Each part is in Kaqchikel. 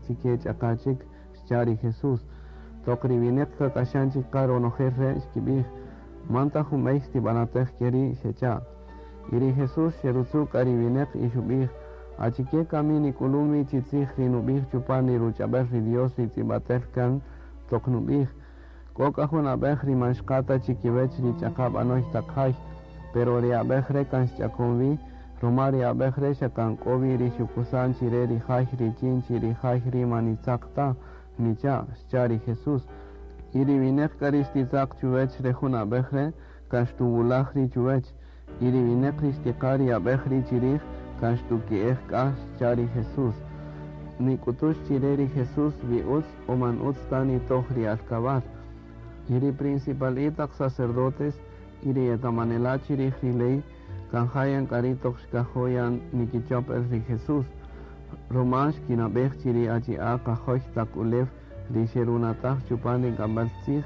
chike ch'aqa chik, xcha' ri Jesús. Toq ri wineq kak'axan chik qa ronojel re' xkib'ij, man ta jun b'ey xtib'anatej keri', xecha'. Y ri Jesús xerutzu' k'a ri wineq y xub'ij, achike kami nik'ulun wi chi tzij ri nub'ij chupan ri ruch'ab'el ri Dios ri tz'ib'atel kan toq nub'ij, k'o k'a jun ab'ej ri man xqa ta chikiwech ri ch'aqa b'anoy taq jay, pero ri ab'ej re' kan xch'akon wi, ruma ri ab'ej re' xa kan k'o wi ri xukusan chire ri jay richin chi ri jay ri man nitzaq ta, nicha', xcha' ri Jesús. Y ri wineq k'a ri xtitzaq chuwech re jun ab'ej re' kan xtuwulaj ri chuwech, y ri wineq ri xtiqa ri ab'ej ri chirij kan xtuki'ej k'a, xcha' ri Jesús. Nik'utux chire ri Jesús wi utz o man utz ta nitoj ri alkabal. Y ri principal taq sacerdotes y ri etamanela chirij ri ley kan jayan k'a ri' toq xkajo' nikichop el ri Jesús. Ruma xkinab'ej chi ri achi'a' qajoy taq ulew ri xerunataj chupan ri k'amb'al tzij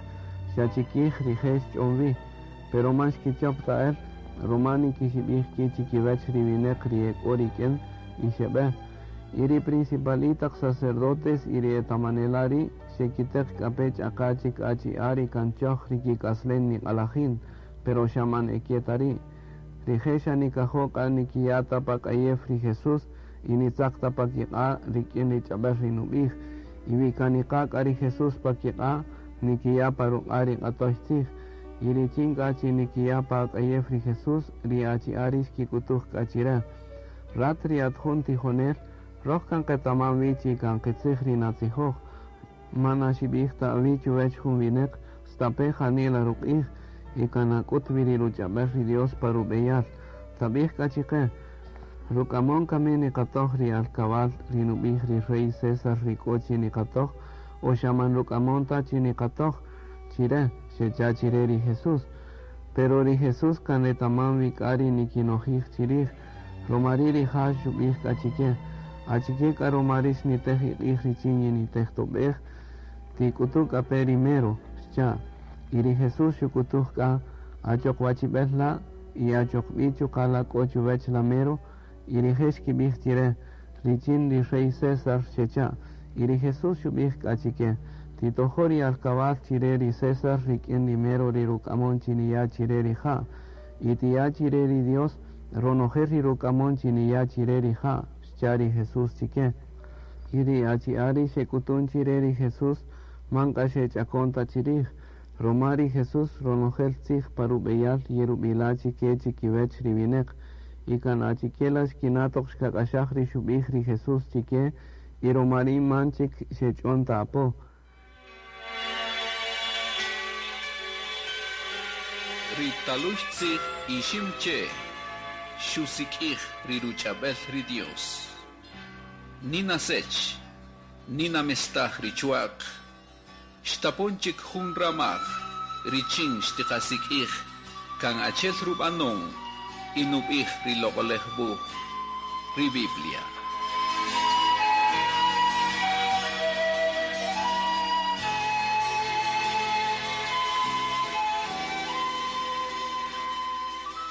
xa chikij rije' xch'on wi, pero man xkichop ta el, ruma nikixib'ij ki' chikiwech ri wineq ri e k'o rik'in y xeb'e. Y ri principal taq sacerdotes y ri etamanela ri' xekiteq k'a pe ch'aqa chik achi'a' ri kan choj ri kik'aslen niq'alajin, pero xa man eke ta ri'. Rije' xa nikajo' k'a nikiya' ta pa k'ayew ri Jesús y nitzaq ta pa kiq'a' rik'in ri ch'ab'el ri nub'ij. Y wi kan niqa' k'a ri Jesús pa kiq'a', nikiya' pa ruq'a' ri q'atoy tzij. Y richin k'a chi nikiya' pa k'ayew ri Jesús, ri achi'a' ri xkik'utuj k'a chire. Rat ri at jun tijonel, roj kan qetaman wi chi kan qitzij ri natzijoj. Man naxib'ij ta awi' chuwech jun wineq, stape' janila ruq'ij, y kan nak'ut wi ri ruch'ab'el ri Dios pa rub'eyal. Tab'ij k'a chiqe, ruk'amon kami niqatoj ri alkabal ri nub'ij ri rey César ri k'o chi niqatoj, o xa man ruk'amon ta chi niqatoj chire, xecha' chire ri Jesús. Pero ri Jesús kan retaman wi k'a ri nikinojij chirij, ruma ri' rija' xub'ij k'a chike, achike k'a ruma rix nitej iq'ij richin yinitejtob'ej, tik'utu' k'a pe ri mero, xcha'. Y ri Jesús xuk'utuj k'a, achoq wachib'el la' y achoq b'i chuqa' la k'o chuwech la mero, y rije' xkib'ij chire, richin ri rey César, xecha'. Y ri Jesús xub'ij k'a chike, titojo' ri alkabal chire ri César rik'in ri mero ri ruk'amon chi niya' chire rija', y tiya' chire ri Dios ronojel ri ruk'amon chi niya' chire rija', xcha' ri Jesús chike. Y ri achi'a' ri xek'utun chire ri Jesús man k'a xech'akon ta chirij, ruma ri Jesús ronojel tzij pa rub'eyal yerub'ila' chike chikiwech ri wineq, y kan achike la xkina' toq xkak'axaj ri xub'ij ri Jesús chike, y ruma ri' man chik xech'on ta apo. Ri talux tzij Iximche' xusik'ij ri ruch'ab'el ri Dios. Nina sech, nina mestaj ri chuaq, xtapon chik jun ramaj, richin xtiqasik'ij kan achel rub'anon y nub'ij ri loq'olej wuj, ri Biblia.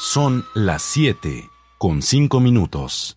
Son las 7:05.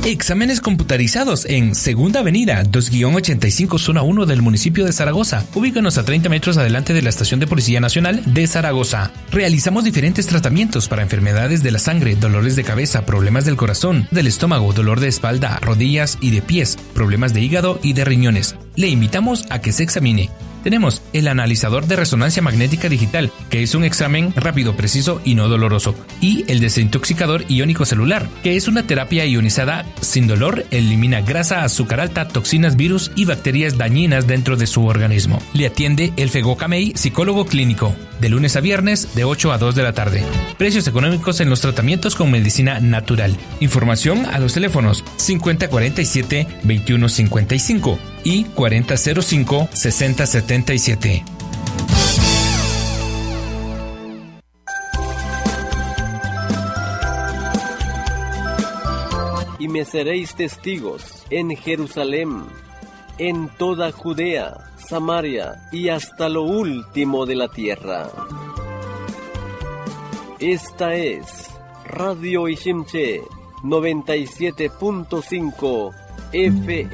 Exámenes computarizados en Segunda Avenida 2-85 Zona 1 del municipio de Zaragoza. Ubícanos a 30 metros adelante de la Estación de Policía Nacional de Zaragoza. Realizamos diferentes tratamientos para enfermedades de la sangre, dolores de cabeza, problemas del corazón, del estómago, dolor de espalda, rodillas y de pies, problemas de hígado y de riñones. Le invitamos a que se examine. Tenemos el analizador de resonancia magnética digital, que es un examen rápido, preciso y no doloroso, y el desintoxicador iónico celular, que es una terapia ionizada sin dolor, elimina grasa, azúcar alta, toxinas, virus y bacterias dañinas dentro de su organismo. Le atiende el Fego Camey, psicólogo clínico, de lunes a viernes de 8 a 2 de la tarde. Precios económicos en los tratamientos con medicina natural. Información a los teléfonos 5047-2155 y 4005-6077. Y me seréis testigos en Jerusalén, en toda Judea, Samaria y hasta lo último de la tierra. Esta es Radio Iximché 97.5 FM.